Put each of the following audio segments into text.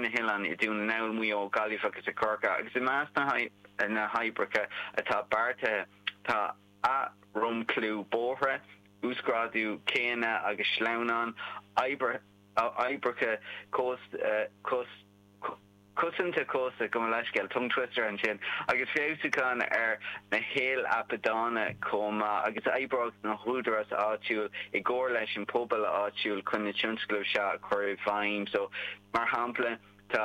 na hoileáin i Dún na nGall, Maigh Eo, Gaillimh agus i Corcaigh agus i measc na hoibreacha atá beartaithe tá athdhromchlú bóithre, uasghrádú céanna agus sleamhnán, oibreacha cosanta cósta, gabh mo leithscéal, tongue twister ansin, agus feabhsúchán ar na heileapadána chomh maith, agus oibreoidh na húdaráis áitiúil i gcomhar leis an pobal áitiúil chun na tionscnaimh seo a chur i bhfeidhm. So, mar shampla, tá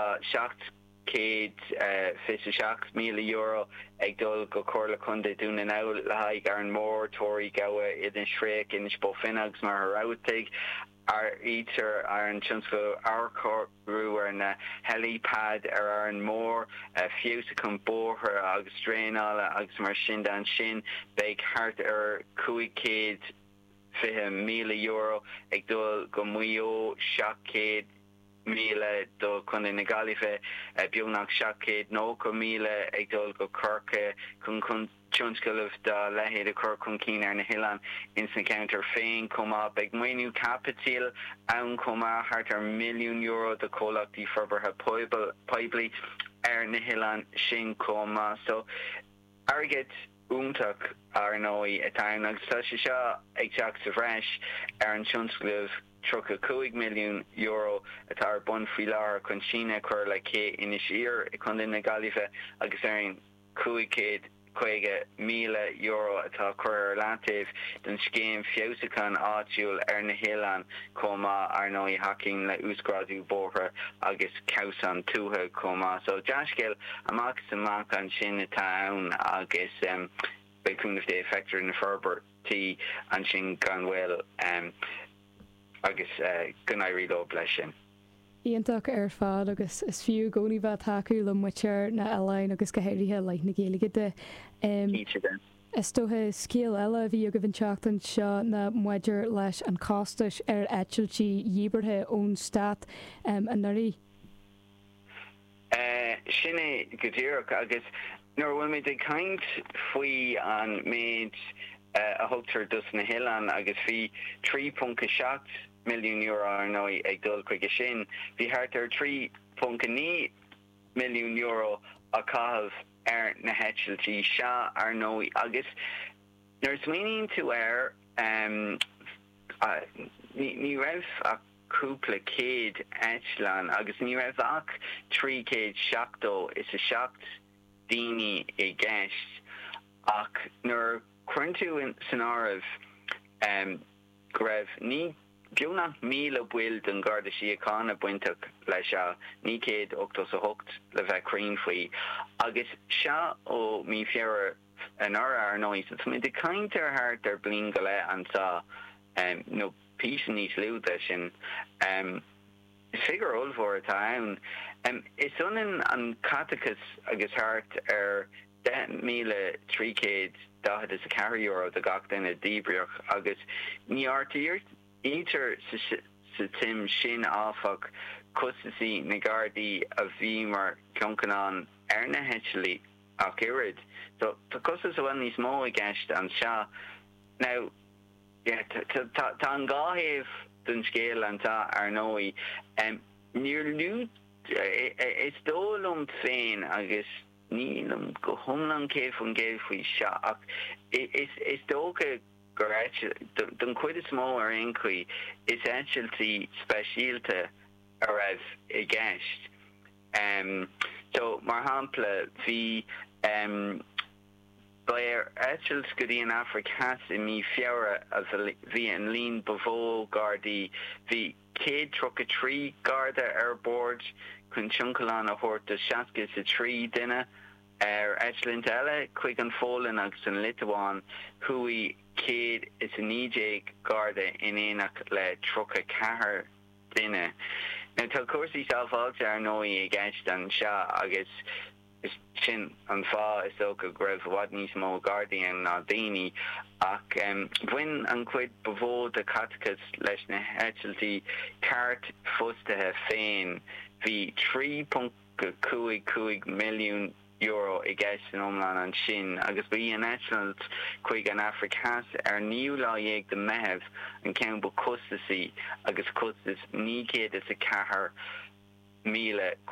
€727,000 ag dul go Comhairle Contae Dhún na nGall le haghaidh Árainn Mhór, Toraigh, Gabha, Inis Fraoch, Inis Bó Finne agus Machaire Rabhartaigh. Áirítear ar an tionscadal athchóiriú ar na helipad ar Árainn Mhór, feabhsúchán bóithre agus draenála agus mar sin de. Ansin beidh thart ar €520,000 ag dul go Maigh Eo, 700,000 do Chontae na Gaillimhe, beagnach 790,000 ag dul go Corcaigh chun tionscnaimh dá leithéid a chur chun cinn ar na hoileáin ins na ceantair féin chomh maith. Beidh maoiniú caipitil ann chomh maith, thart ar €1 milliún do chomhlachtaí forbartha poiblí ar na hoileáin sin chomh maith. So, airgead iontach, ar ndóigh, atá ann agus tá sé seo ag teacht sa bhreis ar an tionscnamh €35 milliún atá ar bun faoi láthair chun síneadh a chur le cé Inis Oírr i gContae na Gaillimhe agus ar an €550,000 atá curtha ar leataobh don scéim feabhsúcháin áitiúil ar na hoileáin chomh maith, ar ndóigh, a thacaíonn le uasghrádú bóithre agus cabhsáin tuaithe chomh maith. So, dea-scéal amach is amach ansin atá ann agus beidh cúnamh Dé, feictear na forbairtí ansin gan mhoill agus go n-éirí leo leis sin. Iontach ar fad agus is fiú i gcónaí bheith ag tacú le muintir na n-oileán agus go háirithe i leith na Gaeilge de. Cinnte de. Is dócha scéal eile a bhí agaibh an tseachtain seo ná maidir leis an chostais ar eitiltí dhíbeartha ón stát anuraidh. Sin é go díreach agus nuair a bhfuil muid ag caint faoi an méid a thugtar dos na hoileáin agus bhí 3.7 milliún euro ar ndóigh ag dul chuige sin. Bhí thart ar €3.9 milliún á chaitheamh ar na heitiltí seo ar ndóigh agus nuair a smaoiníonn tú air ní raibh ach cúpla céad eitleán agus ní raibh ach 377 daoine i gceist ach nuair a chuireann tú san áireamh go raibh ní beagnach 1,000 baill den Gharda Síochána bainteach leis seo, 988 le bheith cruinn faoi, agus seo ó mí Feabhra anuraidh, ar ndóigh, so tá muid ag caint ar thart ar bliain go leith anseo, nó píosa níos lú de sin. Is figiúr ollmhór atá ann. Is ionann an caiteachas agus thart ar €10,344 do gach duine a díbríodh agus ní áirítear sa tsuim sin, áfach, costaisí na nGardaí a bhí mar thionlacan ar na heitiltí ach oiread. So, tá costas i bhfad níos mó i gceist anseo. Now. Yeah, tá an dá thaobh den scéal anseo, ar ndóigh. Níor luaigh, is dóigh liom féin, agus nílim go hiomlán 100% faoi seo, ach is dócha gur eitil, don chuid is mó ar aon chaoi, is eitiltí speisialta a raibh i gceist. So, mar shampla, bhí. Ba ar eitilt go dtí an Afraic Theas i mí Feabhra a bhí an líon ba mhó Gardaí. Bhí 133 Garda ar bord chun tionlacan a thabhairt do 63 duine. Ar eitilt eile chuig an Pholainn agus an Liotuáin chuaigh 119 Garda in éineacht le 34 duine. Now tá cúrsaí sábháilte ar ndóigh i gceist anseo agus. Sin an fáth, is dócha, go raibh i bhfad níos mó Gardaí ann ná daoine. Ach bhain an chuid ba mhó de chaiteachas leis na heitiltí cairtphostaithe féin. Bhí €3.55 milliún i gceist san iomlán ansin, agus ba í an eitilt chuig an Afraic Theas ar an naoú lá dhéag de Mheitheamh an ceann ba chostasaí agus costas €904,000.